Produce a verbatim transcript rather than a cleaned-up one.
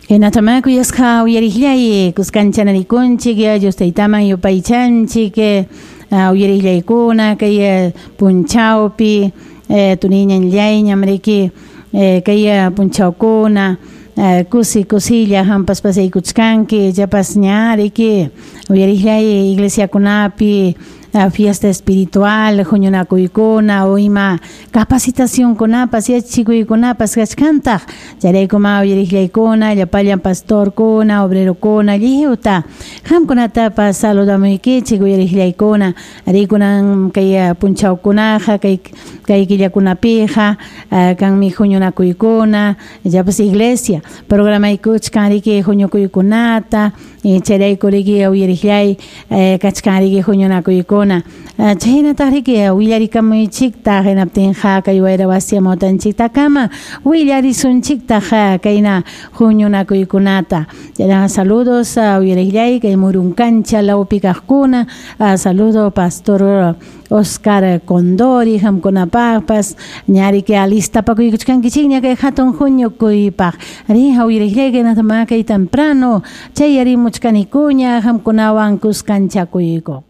Hinatama kuyasqa uyariqllay kuskancha Dios taytaman yupaychanchik uyariqllaykuna kay punchawpi tuniñanllayñam riki kay punchawkuna kusi kusilla hampas pasaykuchkanki chapas ña riki uyariqllay iglesiakunapi fiesta espiritual huñunakuykuna o ima capacitacionkunapas yachachikuykunapas kachkantaq chayraykuma uyariqllaykuna llapallan pastorkuna obrerokuna lliwta qamkunatapas saludamuykichik uyariqllaykuna arikunan kay punchawkunaqa kay kay killakunapiqa kanmi huñunakuykuna llapas iglesia programaykuchkan riki huñukuykunata chayrayku riki uyariqllay kachkan riki huñunakuykuna chaynataq riki willarikamuychiktaq hinaptinqa kay wayra wasi amawtanchiktakama willarisunchiktaq kayna huñunakuykunata chaynaqa saludos uyariqllay kay Murunkancha lawpi kaqkuna saludo pastor Oscar Condori qamkunapaqpas ñariki alistapakuykuchkankichikña kay hatun huñukuypaq riqa uyariqllay kay temprano chayarimuchkanikuña qamkunawan kuskanchakuyku.